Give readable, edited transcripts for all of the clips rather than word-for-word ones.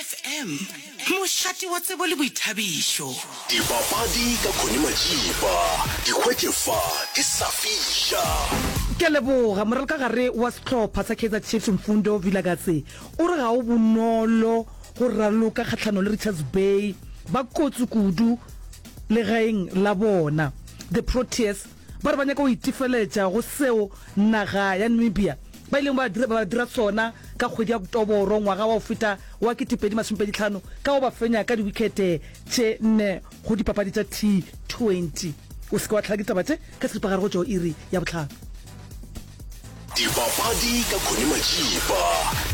FM, mošate wa tsebo le boithabišo. Dipapadi ka Connie Majiba, di hwetše fa di sa fiša. Ke a leboga. Moralokagare wa sehlopha sa Kaizer Chiefs Mfundo Vilakazi o re ga go bonolo go raloka kgahlanong le Richards Bay ba kotsi kudu legaeng la bona. The Proteas ba re ba nyaka go itefeletša go seo naga ya Namibia ba ileng ba ba dira sona ka kgwedi ya Oktoboro ngwaga wa go feta wa 2025 ka go ba fenya ka diwikhete tše nne go dipapadi tša T20. O se ke wa tlhala ke ditaba tše ka seripagare go tšwa go iri ya bohlano. Dipapadi ka Connie Majiba,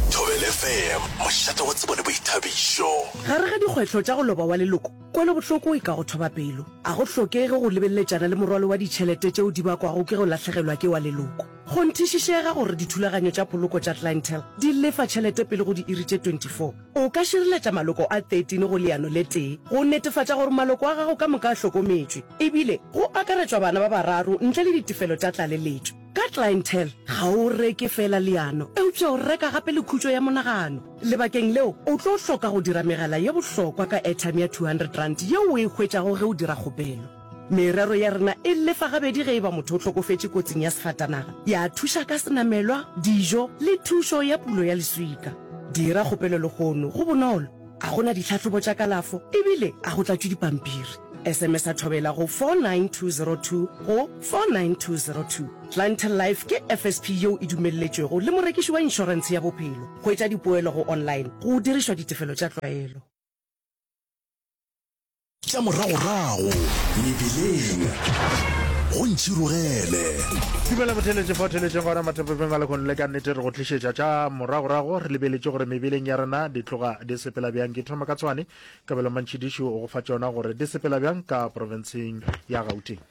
Thobela FM, mošate wa tsebo le boithabišo. Gare ga dikgwetlho tša go loba wa leloko, kwelobohloko e ka go thoba pelo. A go hlokege go lebeleletšana le morwalo wa ditšhelete tšeo di bakwago ke go lahlegelwa ke wa leloko. Kgonthišišega gore dithulaganyo tša poloko tša Clientele di lefa tšhelete pele go diiri tše 24. O ka šireletša maloko a 13 go leano le tee go netefatša gore maloko a gago ka moka a hlokometšwe, ebile go akaretšwa bana ba bararo ntle le ditefelo tša tlaleletšo. Ka Clientele, ga o reke feela leano, eupša o reka gape le khutšo ya monagano. Lebakeng leo, o tlo hloka go dira megala ye bohlokwa ka airtime ya R200 yeo o e hwetšago ge o dira kgopelo. Merero ya rena e lefa gabedi ge e ba motho o hlokofetše kotsing ya sefatanaga, ya thuša ka senamelwa, dijo le thušo ya pulo ya leswika. Dira kgopelo lehono, go bonolo, ga go na ditlhahlobo tša kalafo ebile ga go tlatšwe dipampiri. SMS-a Thobela go 49202 go 49202. Clientele Life ke FSP yeo e dumelletšwego le morekiši wa inšorentshe ya bophelo. Hwetša dipoelo go online go dirišwa ditefelo tša tlwaelo. Tša moragorago mebileng go ntšhirogele. Dumela motheeletši fa o theeletšeng gona mathapepeng a lehono le ka nnete re go tlišetša tša moragorago re lebeletše gore mebileng ya rena di tloga di sepela bjang. Ke thoma ka Tshwane, Kabelo Mantšhidiši o go fa tšona gore di sepela bjang ka profenseng ya Gauteng.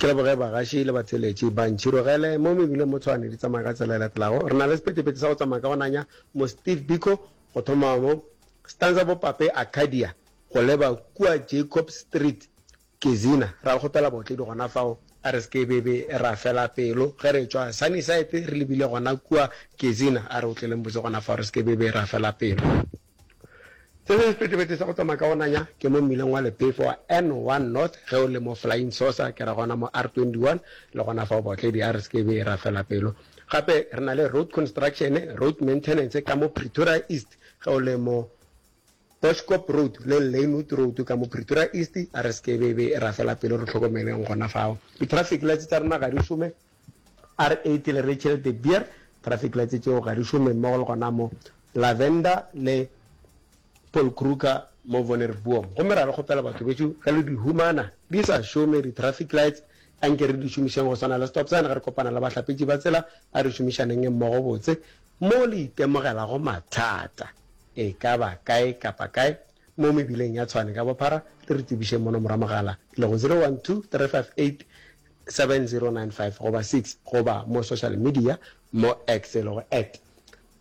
Ke leboge bagaši le batheeletši ba ntšhirogele mo mebileng mo Tshwane di tsamaya ka tsela e latelago. Re na le sephethephethe sa go tsamaya ka go nanya mo Steve Biko go thoma mo Stanza Bopape Arcadia go leba kua Jacobs Street Gezina. Ra le kgopela baotledi gona fao a re se ke be be ra fela pelo ge re tšwa Sunnyside re lebile gona kua Gezina. A re otleleng botse gona fao re se ke be be ra fela pelo. Se sengwe sephethephethe sa go tsamaya ka go nanya ke mo mmileng wa lephefo wa N1 North ge o le mo Flying Saucer ke ra gona mo R21 le gona fao baotledi a re se ke be ra fela pelo. Gape re na le road construction, road maintenance ka mo Pretoria East ge o le mo Boschkop Road le Lynnwood Road ka mo Pretoria East a re se ke be be ra fela pelo re hlokomeleng gona fao. Di-traffic lights tša rena ga di šome R8 le Rachel de Beer traffic lights tšeo ga di šome mmogo le gona mo Lavender le Paul Kruger mo Vonderboom. Gomme ra le kgopela batho bešo ge le di humana di sa šome di-traffic lights anke re di šomišeng go swana le stop sign ge re kopana le bahlapetši ba tsela a re šomišaneng mmogo botse mo le itemogelago mathata e ka ba kae kapa kae mo mebileng ya Tshwane ka bophara le re tsebišeng mo nomoro ya mogala e lego 012 358 7095 goba 6 goba mo social media mo X e lego at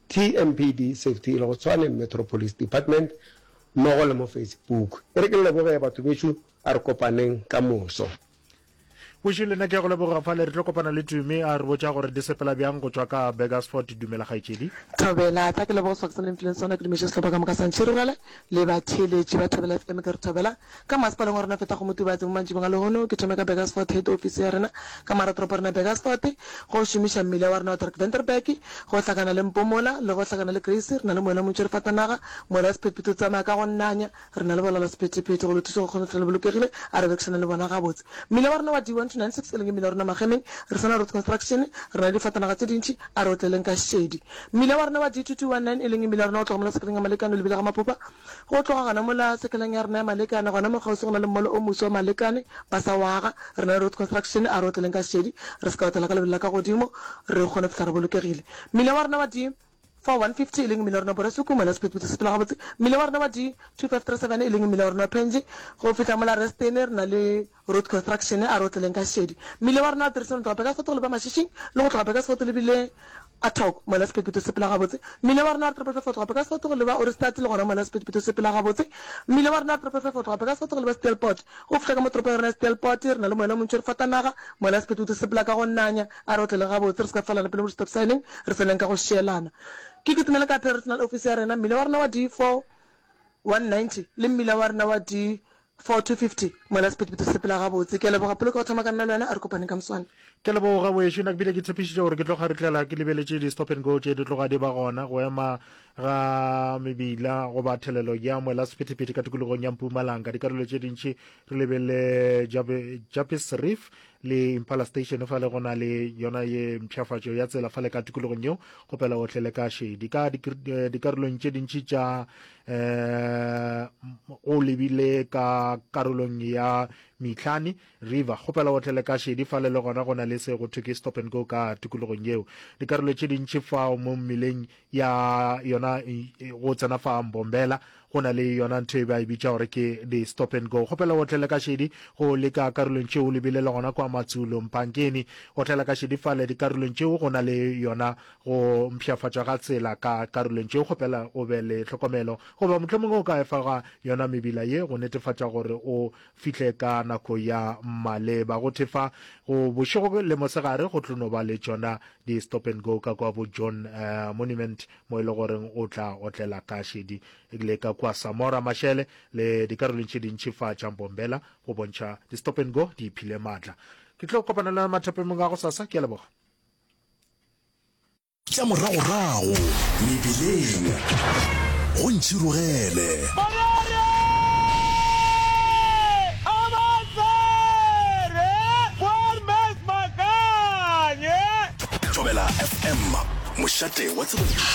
TMPD Safety e lego Tshwane Metro Police Department mmogo le mo Facebook. E re ke le leboge batho bešo a re kopaneng ka moso. Boši le nna ke a go leboga fale re tlo kopana le Tumi a re botša gore di sepela bjang go tšwa ka Burgersfort. Dumela kgaetšedi. Thobela, tla ke leboge sebaka se le mfileng sona, ke dumeše sehlopha ka moka sa Ntšhirogele le batheeletši ba Thobela FM ke re thobela ka masepaleng wa rena feta go Motubatse mo mantšibong a lehono ke thome ka Burgersfort head office ya rena ka maratoropo rena Burgersfort go šomiša mmila wa rena wa Dirk Venterberg go hlakana le Mpomola le go hlakana le Grace re na le moela montši re fatanaga moela wa sephethephethe o tsamaya ka go nanya Re na le bolala sephethephethe go le thuša go kgona go fihla le bolokegile. A re berekišane le bona gabotse. Mmila wa rena wa D1296 e leng mmila wa rena Magemeng, re sa na road construction, re na le difatanaga tše dintši, a re otleleng ka šedi. Mmila wa rena wa D2219 e leng mmila wa rena go tloga mola sekeleng ya Malekane o lebile ga Mapopa, go tloga gona mola sekeleng ya rena ya Malekane, gona mo kgauswi go na le mmolo o moswa wa Malekane, ba sa o aga. Re na le road construction, a re otleleng ka šedi, re se ka otlela ka lebelo la ka godimo, re kgone go fihla re bolokegile. Mmila wa rena wa D. 4150 e leng mmila wa rena wa Borasuku, mola sephethephethe se sepela gabotse. Mmila wa rena wa D2537 e leng mmila wa rena wa Penge, go fihla mola Restene re na le road construction, a re otleleng ka šedi. Mmila wa rena wa Tirisano go tloga Burgersfort go leba Mashishing le go tloga Burgersfort lebile Atok, mola sephethephethe se sepela gabotse. Mmila wa rena wa 555 go tloga Burgersfort go leba Ohrigstad le gona mola sephethephethe se sepela gabotse. Mmila wa rena wa 555 go tloga Burgersfort go leba Steelpoort, go fihla ka mo toropong ya rena ya Steelpoort re na le moela o montši re fatanaga, mola sephethephethe se sepela ka go nanya. A re otlele gabotse, re se ka felana pelo mo di-stop sign-eng, re tseneng ka go šielana. Ke kitimele ka Personal Office ya rena, mmila wa rena wa D4 190 le mmila wa rena wa D4 250 mola sephethephethe se sepela gabotse. Ke a leboga Poloko go thoma ka nna le wena, a re kopaneng ka moswane. Ke a leboga wešo, nna ke bile ke tshepišitše gore ke tlo kgaritlela ke lebeletše di stop and go tše di tloga di ba gona go ema ga mebila goba thelelo ya moela sephethephethe ka tikologong ya Mpumalanga. Dikarolo tše dintši re lebelele Jappies Reef le Impala Station fale go na le yona ye mpshafatšo ya tsela fale ka tikologong yeo kgopela ohle le ka šedi ka eh, dikarolong tše dintši tša um o lebile ka karolong ya Mitlhane River kgopela ohle le ka šedi fale le gona go na le se go thwe ke stop and go ka tikologong yeo dikarolo tše dintši fao mo mmileng ya yona go tsena fa Mbombela go na le yona ntho e ba e bitša gore ke di stop and go. Kgopela o otlele ka šedi go leka karolong tšeo lebile le gona kwa Matsulo Mpankeni. Otlela ka šedi fale dikarolong tšeo go na le yona go mpshafatšwa ga tsela ka karolong tšeo. Kgopela o be le tlhokomelo goba mohlomongwe o ka efoga yona mebila ye go netefatša gore o fihle ka nako ya maleba. Go thefa go bošego le mosegare go tlo no ba le tšona di stop and go ka kwa bo John uh, Monument mo e le goreng o tla otlela ka šedi le ka kwa Samora Mashele le dikarolong tše dintši fa tša Mbombela go bontšha di stop and go di iphile maatla. Ke tlo kopana le mathapemong a go sasa ke a leboga. Tša moragorago mebileng go ntšhirogele. Thobela FM, mošate wa tsebo.